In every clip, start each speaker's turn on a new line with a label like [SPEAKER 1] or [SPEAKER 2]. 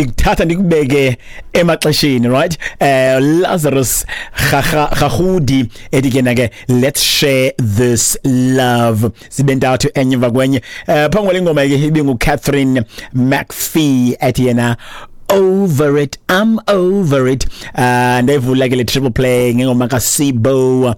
[SPEAKER 1] Ndikuthatha ndikubeke emaxesheni, right? Lazarus Gagudi ethi ke na ke, "Let's share this love." Zibe ntathu, enye emva kwenye. Phambi kwale ngoma ke ibingu Catherine McPhee ethi yena, "Over it, I'm over it." Ndayivula ke le triple play ngengoma kaSibo,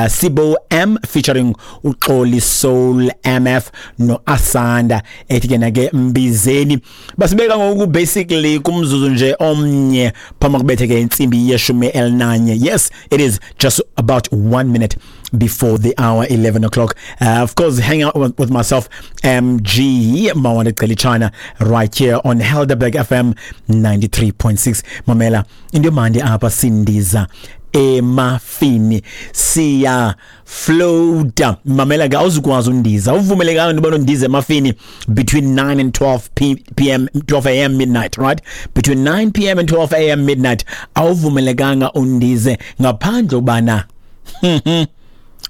[SPEAKER 1] Sibo M featuring uXoli Soul MF no Asanda, ethi ke na ke "Mbizeni". Basibeka ngoku basically kumzuzu nje omnye phambi kubethe ke intsimbi ye-11. Yes, it is just about 1 minute before the hour, 11 o'clock. Of course, hang out with myself, MG Mawande China, right here on Helderberg FM 93.6. Mamela, into mandi apha, sindiza emafini, siya floata. Mamela ke, awuzukwazi undiza, uvumelekanga into yobana undize emafini between 9 and 12 p.m., 12 a.m. midnight, right? Between 9 p.m. and 12 a.m. midnight awuvumelekanga undize ngaphandle ubana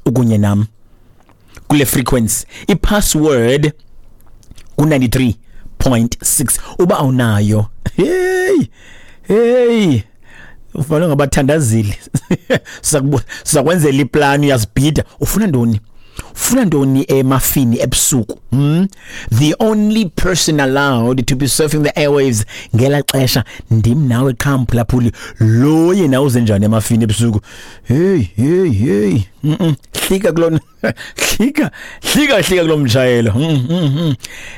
[SPEAKER 1] ukunye nam kule frequency. I-password ku-93.6. Uba awunayo, hey hey, ufanele ngabathandazile, sizakwenzela iplani. Uyazibhida, ufuna ntoni? Ufuna ntoni emafini ebusuku? The only person allowed to be surfing the airwaves ngela xesha ndim nawe qha, mphulaphuli. Lo yena uze njani emafini ebusuku? Hey hey hey, Hlika kulona, hlika hlika hlika kulo mshayelo.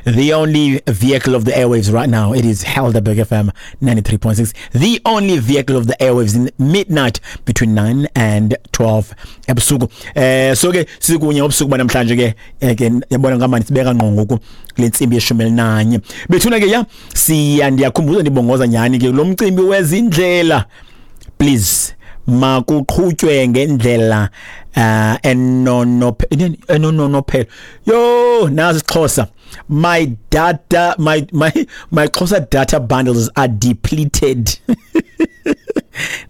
[SPEAKER 1] The only vehicle of the airwaves right now, it is Helderberg FM 93.6, the only vehicle of the airwaves in midnight between 9 and 12 ebusuku. So ke sikunye ubusuku banamhlanje ke, ke yabona ngamani sibeka ngqo ngoku kule ntsimbi ye-11 bethuna ke. Ya, siya ndiyakhumbuza, ndibongoza nyani ke lo mcimbi wezindlela, please makuqhutywe ngendlela enonophelo. Yo, nazi isiXhosa. My data, my Xhosa data bundles are depleted.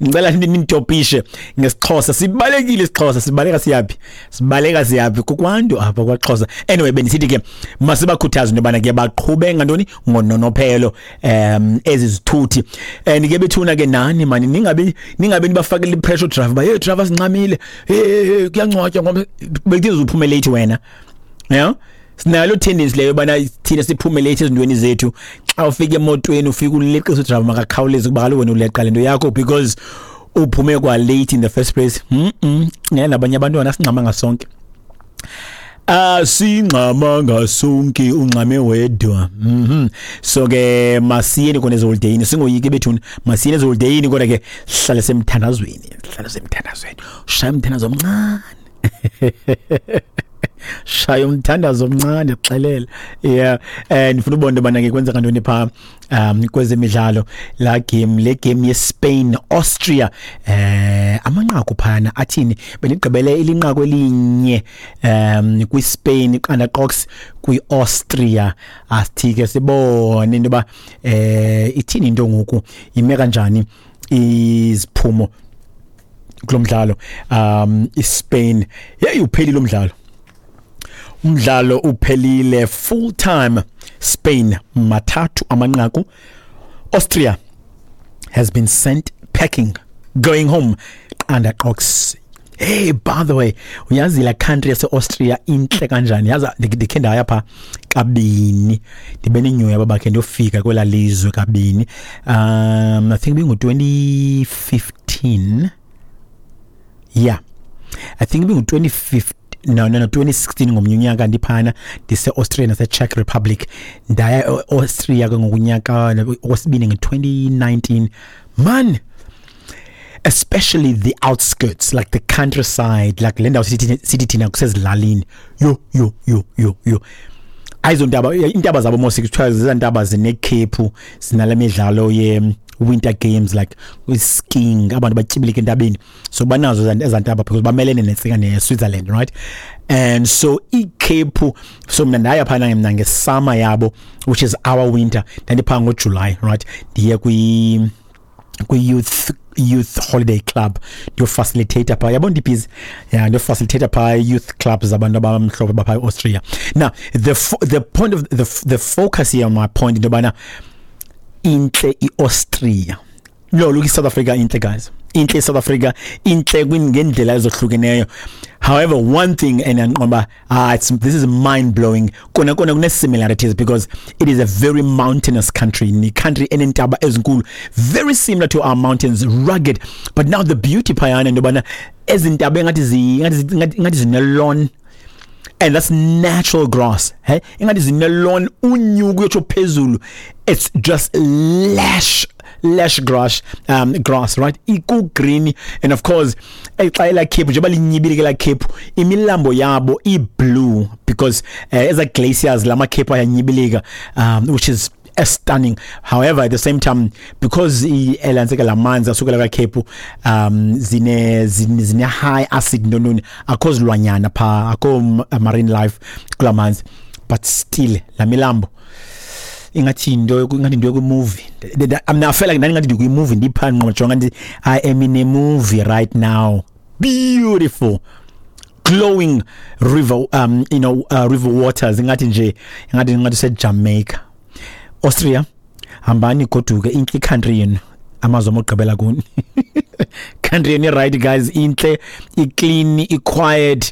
[SPEAKER 1] Ngicela ninitopishe ngesiXhosa. Sibalekile isiXhosa, sibaleka siyaphi? Sibaleka siyaphi? Kukwantu apha kwaXhosa. Anyway, bendisithi ke masibakhuthaze into yobana ke baqhube ngantoni? Ngononophelo ezi zithuthi. And ke bethuna ke nani mani, ningabi nibafakele i-pressure driver ba, "Hey driver, sincamile, hey hey hey, kuyangcwatywa," ngoba bekuthi uphume late wena. Yeah, sinalo tendency leyo bana thina siphume late ezintweni zethu. Xa ufika emotweni, ufika uleqisa udriver makakhawuleze, kuba kaloku wena uleqa lento yakho because uphume kwa late in the first place. Ngeke nabanye abantwana, singxamanga sonke, asingxamanga sonke, ungxame wedwa. So ke masiyeni kona eziholideyini, singoyiki bethuna, masiyeni eziholideyini, kodwa ke sihlale semthandazweni, sihlale semthandazweni. Shaya umthandazo omncane, shaya umthandazo omncane, xelele. Yeah, and ndifuna ubona into yobana ke kwenzeka ntoni phaa kwezemidlalo. La game, le game yeSpain Austria, amanqaku phana athini? Benigqibele ilinqaku elinye kwiSpain, iqanda qox kwiAustria. Asithi ke sibone into yoba ithini into ngoku, ime kanjani iziphumo kulomdlalo. iSpain, hey, uphelile umdlalo, umdlalo uphelile. Full time, Spain 3 amanqaku, Austria has been sent packing, going home, qanda qox. Hey, by the way, uyazi la country yase Austria inhle kanjani? Yazi ndikhe ndaya pha kabini, ndibe nenyoya babakhe ndiyofika kwela lizwe kabini. I think bingu 2015. Yeah, I think bingu 2015. No, 2016. Ngomnye unyaka ndiphana ndise Austria nase Czech Republic. Ndaya Austria ke ngokunyaka okwesibini nge-2019. Man, especially the outskirts, like the countryside, like le ndawo sithi thina kusezilalini. Yo yo yo yo yo, ayizontaba, intaba zabo mos kuthiwa zizantaba zinekhephu, zinale midlalo ye winter games, like skiing, abantu batyibilika entabeni. So banazo ezantaba because bamelene nentsika ne-Switzerland, right? And so ikhephu. So mna ndaya phana mna ngesummer yabo, which is our winter. Ndandiphaa ngoJuly, right? Ndiye kwi youth holiday club, ndiyofacilitate phaa, yabo, ndibhizi. Yeah, ndiyofacilitate phaa youth clubs zabantu abamhlophe baphaa e-Austria. Now the point of the focus here on my point, into yobana Intle iAustria. No, look, South Africa intle, guys. Intle South Africa, intle ngendlela ezohlukeneyo. However, one thing and ngoba it's this is mind blowing. Kona kona kune similarities because it is a very mountainous country. Ni country enentaba ezinkulu, very similar to our mountains, rugged. But now the beauty phayana ndobana ezintaba engathi ngathi zine lawn, and that's natural grass, hey, ingathi zine lawn, unyuku uyotsho phezulu, it's just lush, lush grass, right, iku green. And of course xa ela khephu njengoba linyibile ke la khephu, imilambo yabo i-blue because eza glaciers lamakhephu ayanyibilika, which is stunning. However, at the same time, because elantseka lamanzi asukela kakhephu zine high acid ntoni, akho zilwanyana pha, akho marine life kulamanzi, but still la milambo ingathi into yoku-movie. I mean, I feel like ndani ngathi ndikwi-movie, ndipha ngqo, jonga, ndi I am in a movie right now. Beautiful glowing river, river waters, ingathi nje ingathi seJamaica. Austria, hambani goduke, intle country yenu, amazwe omgqibela kuni. Country yenu right, guys, intle, i-clean, i-quiet,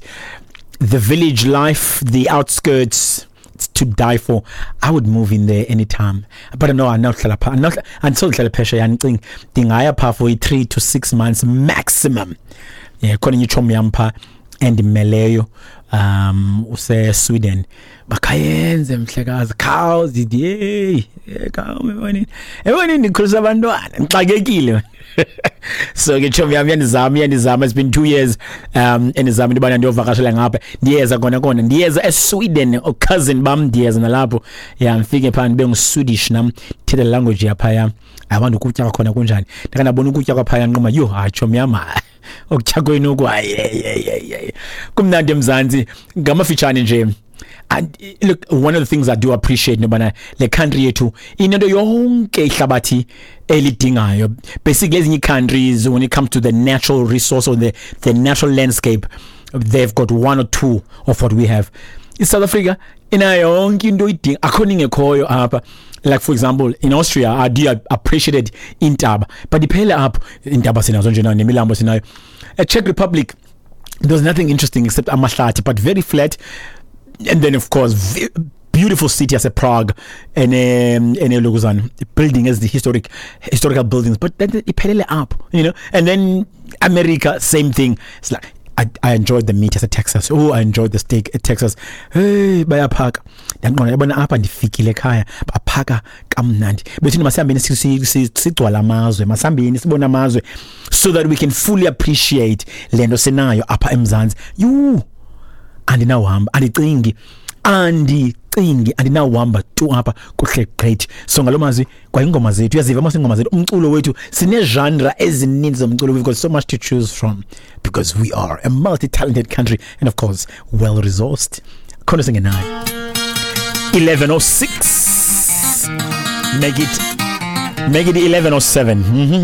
[SPEAKER 1] the village life, the outskirts, it's to die for. I would move in there anytime, but no, andinawuhlala pha, andisokuhlala phesheya. Ndicinga ndingaya pha for i-3 to 6 months maximum. Yeah, khona enye itshomi yam pha endimeleyo, use-Sweden, bakhayenze mhlekazi cows, ndithi hey, khawume ebonini, ndikhulisa abantwana, ndixakekile. So ke tshomi yam iyandizama, it's been 2 years endizama into yobana ndiyovakashela ngapha. Ndiyeza kona kona, ndiyeza eSweden, cousin bam, ndiyeza nalapho ya, ndifike phaa ndibe ngu-Swedish nam, ndithethe le language yaphaya. Abantu ukutya kwakhona kunjani? Ndake ndabona ukutya kwaphaya, nquma yho, hayi tshomi yam, hayi okutya kwenu oku, hayi hayi, kumnandi eMzantsi. Ngamafitshane nje, and look, one of the things I do appreciate nobana le country yethu inento yonke ihlabathi elidingayo. Basically, ezinye countries, when it comes to the natural resource or the natural landscape, they've got one or two of what we have. ISouth Africa inayo yonke into idinga, akho ingekhoyo apha. Like for example, in Austria, I do appreciate intaba, but iphele apho. Intaba sinazo nje, nemilambo sinayo. Czech Republic, there's nothing interesting except amahlathi, but very flat, and then of course beautiful city as a Prague and Luguzan building as the historical buildings, but then iphelele up. And then America, same thing. It's like I enjoyed the meat at Texas. Oh, I enjoyed the steak at Texas. Hey, bayaphaka. Ndaqonda yabona apha ndifikile ekhaya, baphaka kamnandi. Bethini masihambeni sigcwala amazwe, masihambeni sibone amazwe so that we can fully appreciate le nto sinayo apha eMzantsi. You andinawuhamba, andicingi andinawuhamba tu apha, kuhle gqithi. So ngalo mazwi, kwayingoma zethu, uyaziva mos ingoma zethu, umculo wethu, sine-genre ezininzi zomculo. We've got so much to choose from because we are a multi-talented country and of course well resourced. Khona singenayo. 11:06, make it 11:07.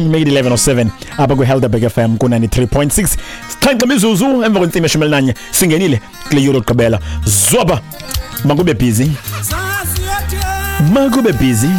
[SPEAKER 1] Make it 11:07 apha kwi-Helderberg FM ku-93.6. Sixhenxe imizuzu emva kwentsimbi 11, singenile kule yure yokugqibela. Zwaba, makube busy, makube busy.